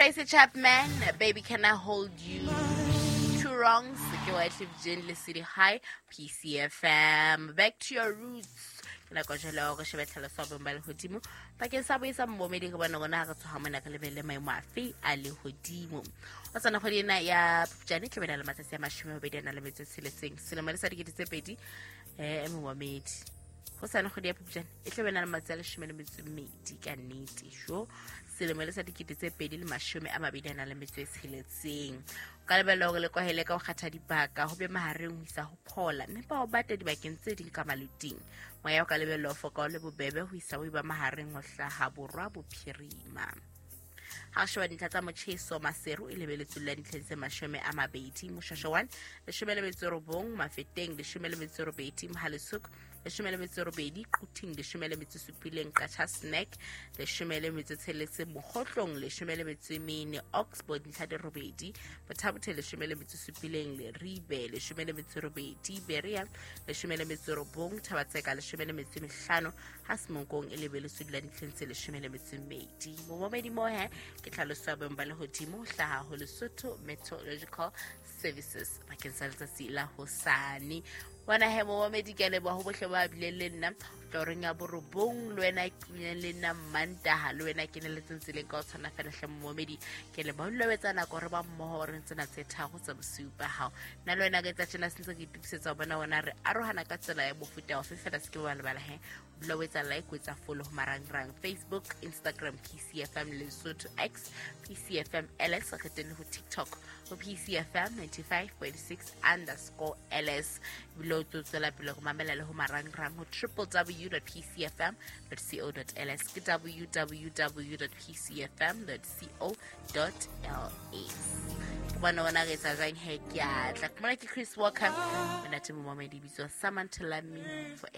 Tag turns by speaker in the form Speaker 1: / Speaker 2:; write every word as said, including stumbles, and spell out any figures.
Speaker 1: Tracy Chapman, Baby Can I Hold You. Two Wrongs, ke Wyclef Jean le City High, P C F M. Back to your roots. Ke nako jwale ya hore shebe tlhaloso ya boemo ba lehodimo bakeng sa boisa momedi re bona rona ha re tsoha mona re lebelle maemo afe a lehodimo. O tsana kgwedi ena ya Phupjane tla be na le matsatsi a mashome a mabedi a nang le metso e tsheletseng selemo le sa dikete tse pedi eh momedi. Ho sane kgwedi ya Phupjane e tla be na le matsatsi a leshome le metso e mmedi ka nnete jo selemo le sa dikete tse pedi le mashome a mabedi a nang le metso e tsheletseng. O ka lebella hore le kwahele ka ho kgatha dibaka ho be mahareng ho isa ho phola mme ba o bata dibakeng tse ding ka maluting. Moya o ka lebella ho foka o le bobebe ho isa ho eba mahareng ho hlaha borwa bophirima. Ha re sheba dintlha tsa motjheso Maseru e lebeletswe la dintlheng tse mashome a mabedi, Moshasha one leshome le metso e robong, Mafeteng leshome le metso e robedi, Mohale'shoek leshome le metso e robedi, Quthing leshome le metso e supileng, Qacha's Nek leshome le metso e tsheletseng, Mokgohlong leshome le metso e mene, Oxford dintlha di robedi, Botha-Bothe leshome le metso e supileng, Leribe leshome le metso e robedi, Berea leshome le metso e robong, Thaba-Tseka leshome le metso e mehlano, ha Semonkong e lebeletswe la dintlheng tse leshome le metso e mmedi. Momamedi mo he ke tlhaloso ya boemo ba lehodimo ho hlaha ho Lesotho Meteorological Services bakeng sa letsatsi la hosane. Bona he momamedi ke a leboha ho bohle ba bileng le nna toreng ya borobong, le wena ke le nna Mantaha, le wena ke neletseng tseleng ka ho tshwana fela hle momamedi. Ke leboha ho lobetsa nako re ba mmoho re tsena tse tharo tsa bosiu ba hao. Nna le wena ka etsa tjena se ntse ke itokisetsa ho bona wona re arohana ka tsela ya mofuta ofe fela se ke ba lebala he. Dula o etsa like, o etsa follow ho marangrang Facebook, Instagram, P C F M Lesotho X, P C F M L S, re teng le ho TikTok ho P C F M ninety-five point six underscore L S. Ebile o tlo tswela pele ho mamela le ho marangrang ho triple w dot p c f m dot co dot l s, ke w w w dot p c f m dot co dot l s. Ke bona ona re etsa jwang he, ke a tla. Ke mona ke Chris Walker, monate momamedi bitswa Samantha Love Me Forever.